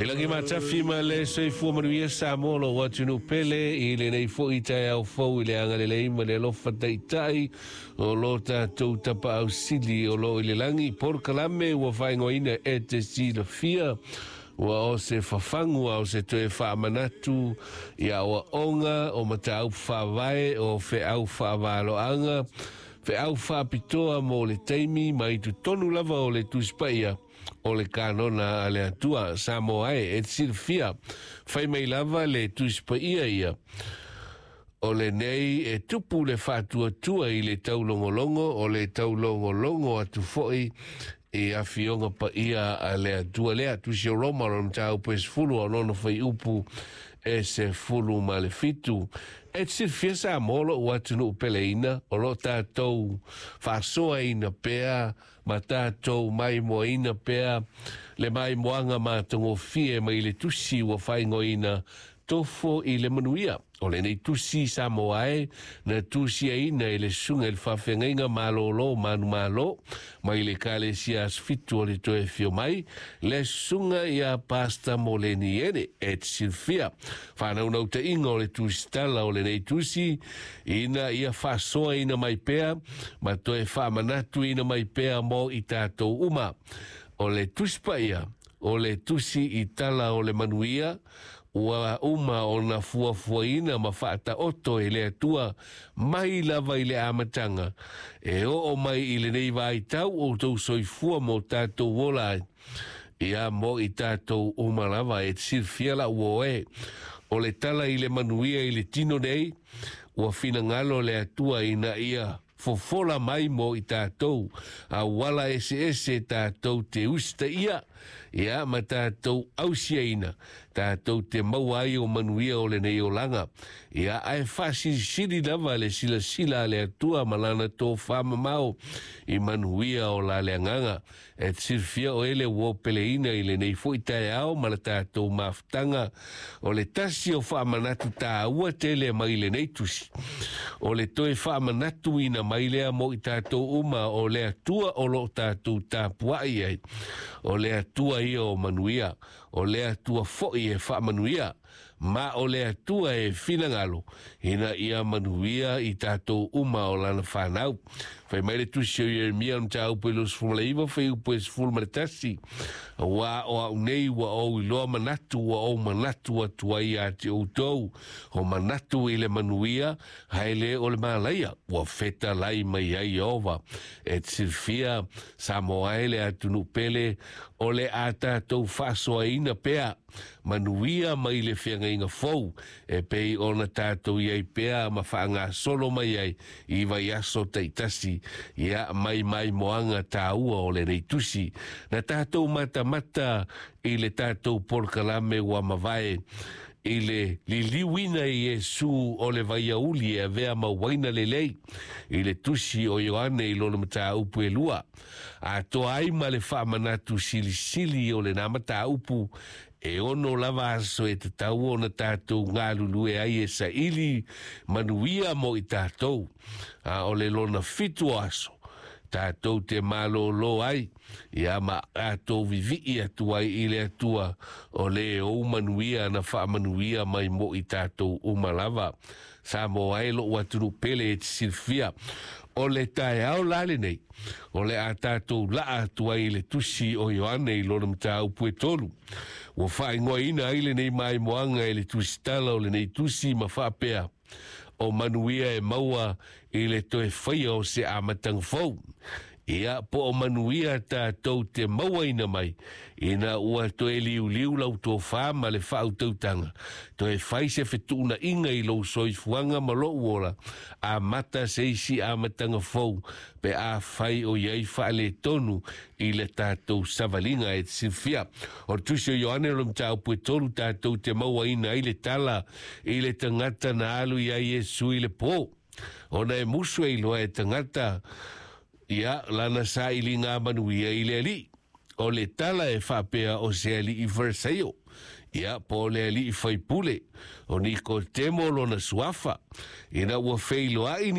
E lagi matafi ma le soifua manuia Samoa lou atunuu pele i lenei foi taeao fou i le agalelei ma le alofa taitai o lo tatou tapaau sili o lo o i le lagi. Polokalame ua faaigoaina e te silafia ua o se fafagu a o se toe faamanatu i aoaoga o mataupu faavae o feau faavaloaga feau faapitoa mo le taimi mai totonu lava o le Tusi Paia o le kanona a le Atua. Samoa e, e te silafia, fai mai lava le Tusi Paia ia, o lenei e tupu le faatuatua i le taulogologo, o le taulogologo atu foi i afioga paia a le Atua lea. Tusi o Roma, o le mataupu e 10, o lona fuaiupu e 17. E te silafia Samoa lou atunuu peleina, o lo o tatou faasoaina pea ma tatou maimoaina pea le maimoaga matagofie mai le tusi ua faaigoaina Tofo i le Manuia. O lenei tusi Samoa e na tusiaina e le susuga i le faafeagaiga malolo manumalo mai le Ekalesia Aso Fitu o le Toe Afio Mai, le susuga ia Pastor Moleni Ene. E te silafia faanaunautaiga o le tusitala o lenei tusi ina ia faasoaina mai pea ma toe faamanatuina mai pea mo i tatou uma. O le Tusi Paia, o le tusi i tala o le manuia, ua uma ona fuafuaina ma faataoto e le Atua mai lava i le amataga, e oo mai i lenei vaitau o outou soifua ma o tatou ola ai. Ia mo i tatou uma lava e te silafia lau uo e, o le tala i le manuia i le tino nei, ua finagalo le Atua ina ia fofola mai mo i tatou auala eseese tatou te usitaia, ia ma tatou ausiaina, tatou te maua ai o manuia o lenei olaga. Ia ae faasilisili lava le silasila a le Atua ma lana tofā mamao i manuia o la le agaga. E te silafia oe le uo peleina i lenei foi taeao ma le tatou mafutaga o le tasi o faamanatu tāua tele mai lenei tusi. O le toe faamanatuina mai lea mo i tatou uma o le Atua o lo o tatou tapuai ai. O le Atua ia o manuia, o le Atua foi e faamanuia. Ma o le Atua e finagalo ina ia manuia i tatou uma o lana fanau. Fai mai le tusi o Ieremia o le mataupu e 29 fuaiupu e 11, Auā o au nei ua ou iloa manatu ua ou manatu atu ai ia te outou, o manatu i le manuia, ae le o le malaia, ua fetalai mai ai Ieova. E te silafia, Samoa e le atunuu pele, o le a tatou faasoaina pea manuia mai le feagaiga fou e pei ona tatou i ai pea ma faagasolo mai ai i vaiaso taitasi, ia mai maimoaga tāua o lenei tusi. Na tatou matamata i le tatou polokalame ua mavae i le liliuina i Iesu o le vaiauli e avea ma uaina lelei i le tusi o Ioane i lona mataupu e lua. Atoa ai ma le faamanatu silisili o lena mataupu e ono lava aso e tatau ona tatou galulue ai e saili manuia mo i tatou, a o le lona 7 o aso tatou te malōlō ai, ia ma tatou vivii atu ai i le Atua o le ou manuia na faamanuia mai mo i tatou uma lava. Samoa e lou atunuu pele e te silafia, o le taeao la lenei, o le a tatou laa atu ai i le tusi o Ioane i lona mataupu e 3. Ua faaigoaina ai lenei maimoaga e le tusitala o lenei tusi ma faapea, o manuia e maua i le toe faia o se amataga fou. Ia, po o manuia tatou te mauaina mai, ina ua toe liuliu lau tofā ma le faautautaga, toe fai se fetuunaiga i lou soifuaga ma lou ola, amata se isi amataga fou, pe afai o i ai faaletonu i le tatou savaliga e te silafia. O le tusi o Ioane o le mataupu e 3 tatou te mauaina ai le tala i le tagata na alu i ai Iesu i le pō. Ona e musu e iloa e tagata, ia, lana sailiga manuia i le alii. O le tala e faapea o se alii Farisaio, ia, po o le alii faipule, o Nikotemo lona suafa, ina ua feiloai ni